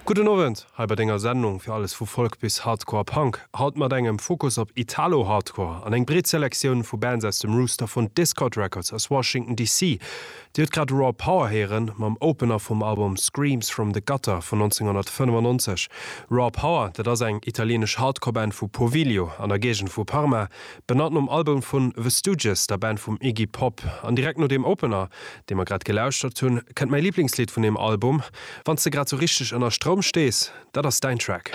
Gudden Owend hei bei denger Sendung fir alles vu Folk bis Hardcore Punk. Haut mat engem Fokus op Italo Hardcore an eng breet Selektioun vu Bands aus dem Rooster vun Dischord Records aus Washington DC. Dir hutt grad Raw Power héieren mam Opener vum Album Screams From The Gutter vun 1995. Raw Power, dat ass eng italienesch Hardcore Band vu Poviglio an der Géigend vu Parma, benannt nom Album vun The Stooges, der Band vum Iggy Pop. An direkt no deem Opener, dee mer grad gelauschtert hunn, kënnt mäi Liblingslidd vun deem Album. Wann s de grad sou richteg ënner Stroum stees, dat ass däin Track.